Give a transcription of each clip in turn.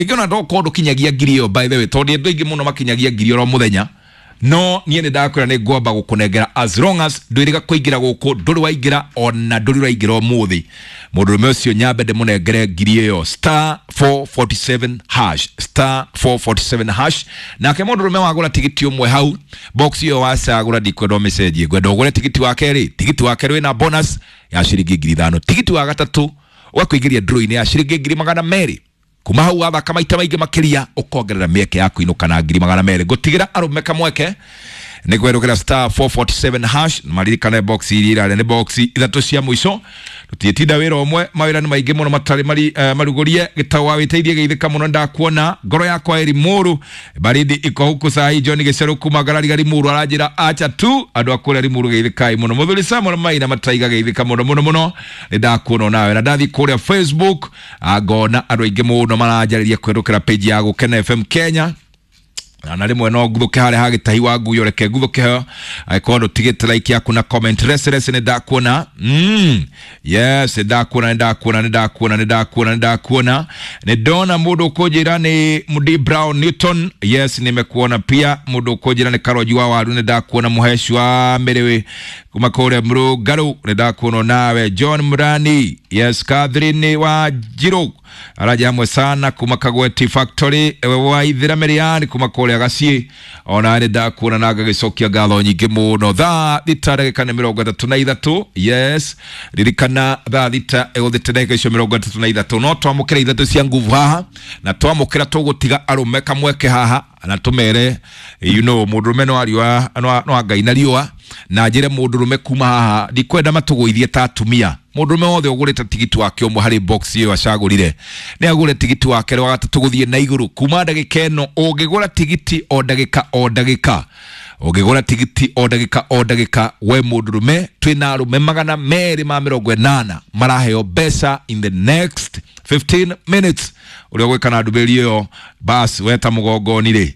Ikiona ndokorwo ndũkinyagia ngiri ĩyo, by the way, tondũ andũ aingĩ mũno makinyagia ngiri oro mũthenya, no niĩ nĩ ndakwĩra nĩ ngwamba gũkũnengera as long as ndwĩrĩga kũingĩra gũkũ, ndũrĩ waingĩra ona ndũrĩ ũraingĩra ũmũthĩ. Mũndũrũme ũcio nyambe ndĩmũnengere ngiri ĩyo, star 447 hash, star 447 hash. Nake mũndũrũme wagũra tigiti ũmwe hau box ĩyo wacagũra, ndikwenda ũmĩcenjie, ngwenda ũgũre tigiti wa kerĩ. Tigiti wa kerĩ wĩna bonus ya ciringi 5,000. Tigiti wa gatatũ ũgakũingĩria draw-inĩ ya ciringi 200,000. Kuma hau wathaka maita maingĩ makĩria, ũkongerera mĩeke ya kũinũka na 200,000. Ngũtigĩra arũme kamweke nĩ kwerũkĩra star 447 hash. Maririkane box iria irarĩa nĩ box ithatũ cia mũico. Tũtiĩtinda wĩra ũmwe, mawĩra nĩ maingĩ mũno matarĩ marugũrie. Gĩtau wa wĩteithie geithĩka mũno, ndakuona ngoro yakwa ĩri mũru baridi iko huku sahi. John Gĩcerũ kuma Ngarariga Limuru aranjĩra acha tu andũ a kũrĩa Limuru, geithĩkai mũno. Mũthuri Samuel Maina Mataiga, geithĩka mũno mũno mũno, nĩ ndakuona nawe. Na ndathiĩ kũrĩa Facebook, ngona andũ aingĩ mũno maranjarĩria kwerũkĩra page ya Gũkena FM Kenya, na rĩmwe no nguthuke harĩa hagĩtahi wa nguyo, reke nguthuke ho angĩkorwo ndũtigĩte like yaku na comment. Rese rese, nĩ ndakuona. Yes, nĩ ndakuona, nĩ ndakuona, nĩ ndakuona, nĩ ndakuona, nĩ ndakuona. Nĩ ndona mũndũ ũkũnjĩra nĩ Mudi Brown Newton. Yes, nimekuona. Pia mũndũ ũkũnjĩra nĩ Karonji wa Waru, nĩ ndakuona. Mũheci wa Mĩrĩwĩ kuma kũrĩa Mũrũngarũ, nĩ ndakuona nawe. John Murani, yes. Catherine wa Njirũ araja hamwe sana kuma Kagweti Factory. Ewe Waithira Mĩrĩani kuma kũrĩa Gaciĩ, ona nĩ ndakuona na ngagĩcokia ngatho nyingĩ mũno. Thaa 6 ndagĩka nĩ 33. Yes, ririkana thaa 6 ĩgũthĩte ndagĩka icio 33, no twamũkĩra ithatũ cia nguvu haha, na twamũkĩra tũgũtiga arũme kamweke haha na tũmere mũndũrũme no ariũa no angai na riũa, na njĩre mũndũrũme kuma haha ndikwenda matũgũithie ta atumia. Mũndũrũme wothe ũgũrĩte tigiti wake ũmwe harĩ box ĩyo acagũrire, nĩ agũre tigiti wake wa gatatũ gũthiĩ na igũrũ. Kuma ndagĩka ĩno ũngĩgũra tigiti o ndagĩka o ndagĩka, ũngĩgũra tigiti o ndagĩka o ndagĩka, we mũndũrũme, twĩna arũme 280 maraheo mbeca in the next 15 minutes. Ũrĩa ũgwĩka na ndũmĩrĩri ĩyo, bas weta mũgongoni rĩ,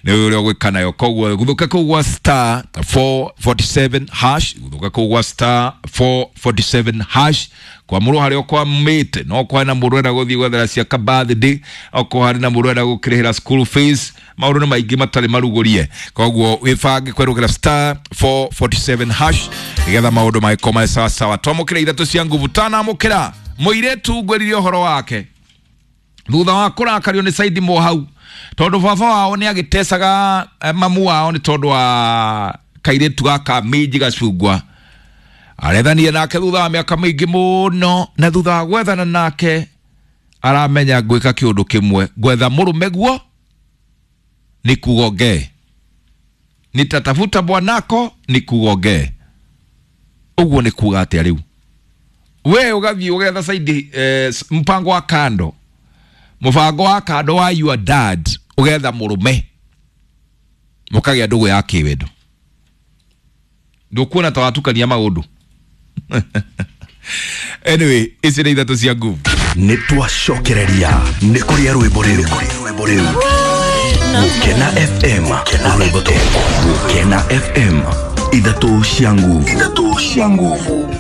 nĩ ũrĩa ũgwĩka nayo. Koguo guthuka kũu gwa star 447 hash, guthuka kũu gwa star 447 hash kwamũrwo harĩa ũkwamĩte. No kwarĩ na mũndũ ũrenda gũthiĩ gwethera ciaka birthday, okorwo harĩ na mũndũ ũrenda gũkĩrĩhĩra school fees, maũndũ nĩ maingĩ matarĩ marugũrie. Koguo wĩbange kwerũkĩra star 447 hash nĩgetha maũndũ magĩkorwo marĩ sawa sawa. Twamũkĩra ithatũ cia nguvu. Tanamũkĩra mũirĩtu ngwĩrire ũhoro wake thutha wa kũrakario nĩ Saidi Mohau, tondũ baba wao nĩ agĩtecaga mamu wao nĩ tondũ wa kairĩtu gaka Minji Gacungwa. Arethanire nake thutha wa mĩaka mĩingĩ mũno, na thutha wa gwethana nake aramenya ngwĩka kĩũndũ kĩmwe, ngwetha mũrũme guo nikugongee, nitatafuta bwanako nikugongee. Ũguo nĩ kuga atĩa? Rĩu we ũgathiĩ ũgetha Saidi mpango wa kando, mũbango wa kando wa your dad, ũgetha mũrũme mũkagĩa ndũgũ ya kĩwendo. Ndũkuona ta watukania maũndũ? Anyway, ici nĩ ithatũ cia nguvu. Nĩ twacokereria nĩ kũrĩa rwĩmbo rĩu Gũkena FM, rwĩmbo tũ Gũkena FM, ithatũ cia nguvu, ithatũ cia nguvu.